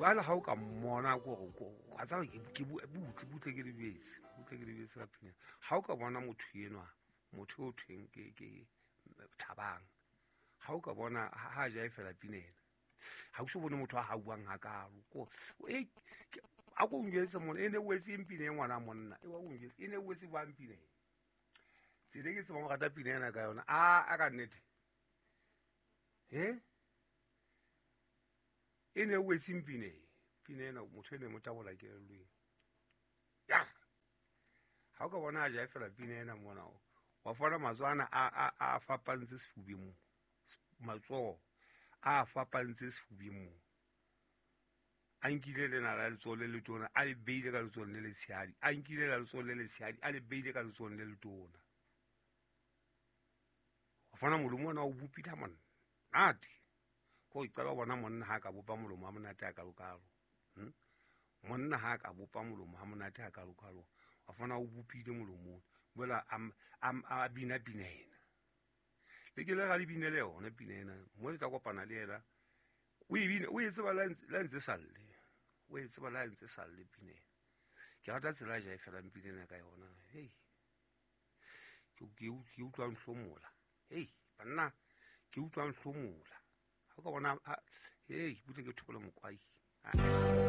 Jwale ha o ka mmona kore wa tseba ke butle butle ke lebetse, butle ke lebetse ka pina. Ha o ka bona motho enwa, motho o thweng ke Thabang, ha o ka bona ha jaefela pina ena, ha o so bone motho a hauwang hakalo. A ko njwetse mona, e ne wetse eng pina e ngwana monna? E wa o njwetse, e ne wetse jwang pina e? Tsela e ke tsebang ho rata pina ena ka yona, a ka nnete. E ne wetse pina e? Pina ena motho e ne mo tabola kelellong. Ya. Ha o ka bona a jaefela pina ena mona, wa fona matsoho ana a fapantse sefubeng mo. Matsoho a fapantse sefubeng mo. A nkile lena la letsoho le letona, a le beile ka letsohong le letshehadi. A nkile la letsoho le letshehadi, a le beile ka letsohong le letona. Wa fona molomo ona o bopile ha monate. Ko ke qala ho bona monna ha ka bopa molomo ha monate ha kalokalo. Monna ha ka bopa molomo ha monate ha kalokalo. Wa fona o bopile molomo. Jwale a bina pina ena. Le ke le ra le binele yona pina ena. Mo le tla kopana le yena. O e bina, o e tseba la ntse salle. O e tseba la ntse salle pina ena. Ke rata tsela a jaefelang pina ena ka yona. Hei. Ke utlwa nhlomola. Hei, banna, ke utlwa nhlomola. Ha o ka bona, hei, butle ke thole mokwai.